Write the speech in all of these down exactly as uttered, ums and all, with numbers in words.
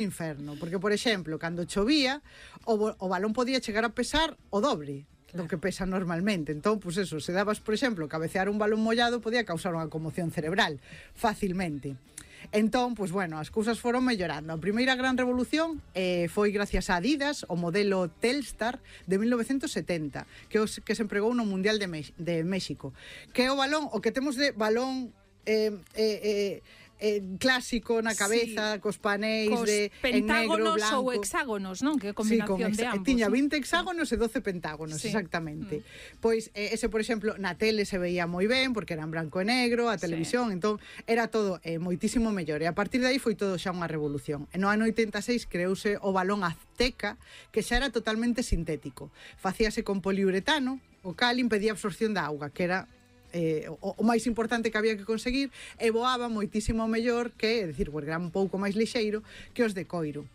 inferno, porque, por exemplo, cando chovía, o, o balón podía chegar a pesar o dobre do que pesa normalmente. Entón, pues eso, se dabas, por exemplo, cabecear un balón mollado, podía causar unha conmoción cerebral facilmente. Entón, pues bueno, as cousas foron mellorando. A primeira gran revolución eh, foi gracias a Adidas, o modelo Telstar de mil novecentos setenta, que, os, que se empregou no Mundial de, Mex- de México, que é o balón, o que temos de balón eh, eh, eh, eh, clásico na cabeza, sí, cos panéis cos de en negro, blanco ou hexágonos, non? Que é combinación sí, de ambos. Tiña ¿no? vinte hexágonos e doce pentágonos, sí, exactamente. Mm. Pois eh, ese, por exemplo, na tele se veía moi ben, porque era en branco e negro, a televisión, sí, entón era todo eh, moitísimo mellor. E a partir de aí foi todo xa unha revolución. E no ano oitenta e seis creouse o balón Azteca, que xa era totalmente sintético. Facíase con poliuretano, o cal impedía a absorción da auga, que era Eh, o, o máis importante que había que conseguir, e voaba moitísimo mellor que, é dicir, era un pouco máis lixeiro que os de coiro.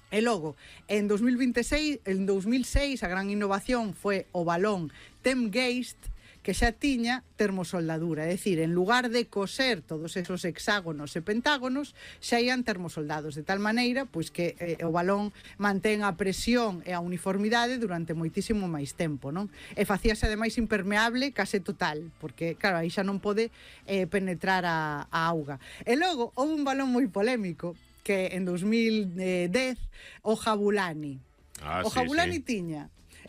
E logo, en dos mil vinte e seis, en dos mil seis, a gran innovación foi o balón Temgeist, que xa tiña termosoldadura, é dicir, en lugar de coser todos esos hexágonos e pentágonos, xa ian termosoldados, de tal maneira pois que eh, o balón mantén a presión e a uniformidade durante moitísimo máis tempo, non? E facíase ademais impermeable case total, porque claro, aí xa non pode eh, penetrar a, a auga. E logo, houve un balón moi polémico que en dos mil dez, o Jabulani. Ah, o sí, Jabulani sí. tiña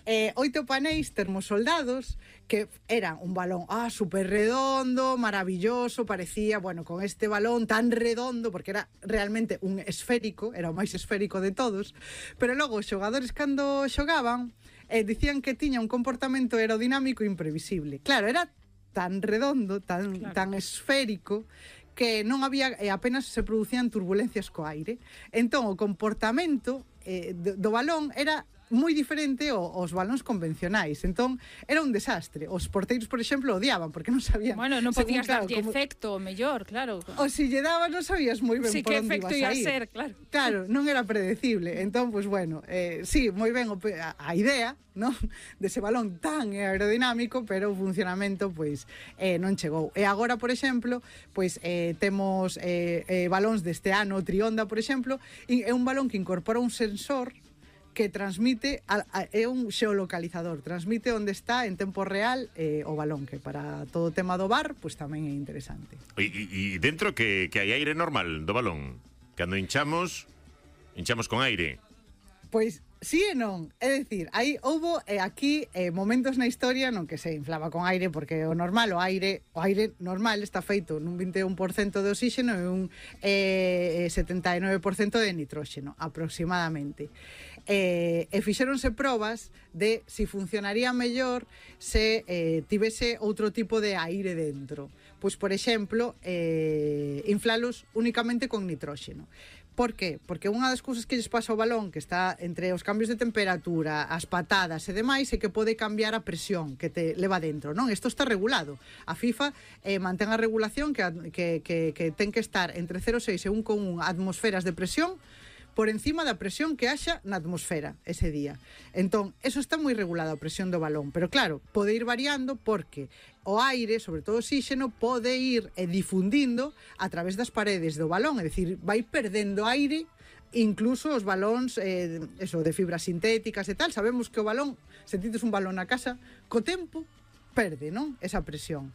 Eh, oito panéis termosoldados que eran un balón ah, super redondo, maravilloso, parecía, bueno, con este balón tan redondo, porque era realmente un esférico, era o máis esférico de todos, pero logo os xogadores cando xogaban eh, dicían que tiña un comportamento aerodinámico imprevisible. Claro, era tan redondo, tan, claro, tan esférico, que non había, eh, apenas se producían turbulencias co aire. Entón, o comportamento eh, do, do balón era moi diferente aos balóns convencionais. Entón, era un desastre. Os porteiros, por exemplo, odiaban, porque non sabían... Bueno, non podías claro, darlle como... efecto mellor, claro. O si lle daba, non sabías moi ben sí, por onde ibas a ir. Sí, que efecto ia ser, claro. Claro, non era predecible. Entón, pues bueno, eh, sí, moi ben a, a idea, non, dese balón tan aerodinámico, pero o funcionamento, pois, eh, non chegou. E agora, por exemplo, pois, eh, temos eh, eh, balóns deste ano, o Trionda, por exemplo, e é un balón que incorpora un sensor que transmite, a, a, é un xeolocalizador, transmite onde está en tempo real eh, o balón, que para todo o tema do bar, pois tamén é interesante. E, e, e dentro que, que hai aire normal do balón? Cando hinchamos, hinchamos con aire? Pois sí e non, é dicir, aí houbo eh, aquí eh, momentos na historia non que se inflaba con aire, porque o normal, o aire o aire normal está feito nun vinte e un por cento de oxígeno e un eh, setenta e nove por cento de nitróxeno, aproximadamente. Eh, e fixéronse probas de si funcionaría mellor se eh, tivese outro tipo de aire dentro. Pois, por exemplo, eh, inflalos únicamente con nitróxeno. Por qué? Porque unha das cousas que lles pasa ao balón, que está entre os cambios de temperatura, as patadas e demais, é que pode cambiar a presión que te leva dentro, non? Isto está regulado. A FIFA eh, mantén a regulación que, que, que, que ten que estar entre cero coma seis e un coma un atmosferas de presión por encima da presión que haxa na atmosfera ese día. Entón, eso está moi regulado, a presión do balón, pero claro, pode ir variando porque o aire, sobre todo o oxígeno, pode ir eh, difundindo a través das paredes do balón, é dicir, vai perdendo aire, incluso os balóns eh, eso, de fibras sintéticas e tal. Sabemos que o balón, se tites un balón na casa, co tempo perde, non? Esa presión.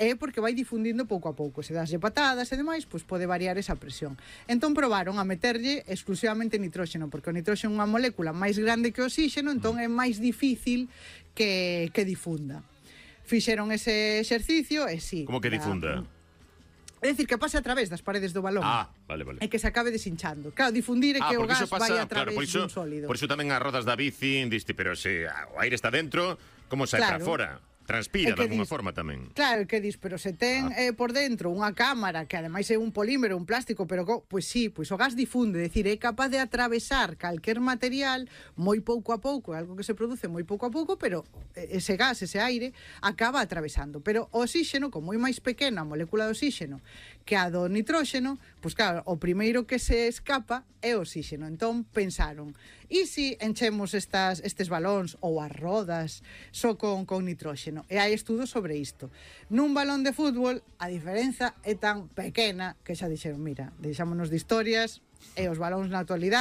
É porque vai difundindo pouco a pouco. Se daslle patadas e demais, pois pode variar esa presión. Entón probaron a meterlle exclusivamente nitróxeno, porque o nitróxeno é unha molécula máis grande que o oxígeno, entón é máis difícil que, que difunda. Fixeron ese exercicio e sí. Como que difunda? É dicir, que pase a través das paredes do balón. Ah, vale, vale. E que se acabe deshinchando. Claro, difundir é ah, que o gas pasa, vai a través claro, por iso, dun sólido. Por iso tamén as rodas da bici, diste, pero se o aire está dentro, como sai claro. para fora? Transpira de alguma forma tamén. Claro, que dis, pero se ten ah. eh, por dentro unha cámara que ademais é un polímero, un plástico, pero co, pois sí, pois o gas difunde, é dicir, é capaz de atravesar calquer material moi pouco a pouco, é algo que se produce moi pouco a pouco, pero ese gas, ese aire acaba atravesando. Pero o oxígeno, como é máis pequena a molécula de oxígeno que a do nitróxeno, pois claro, o primeiro que se escapa é o oxígeno. Entón pensaron, e se enchemos estas estes balóns ou as rodas só con con nitróxeno? E hai estudos sobre isto. Nun balón de fútbol a diferenza é tan pequena que xa dixeron, mira, deixámonos de historias e os balóns na actualidade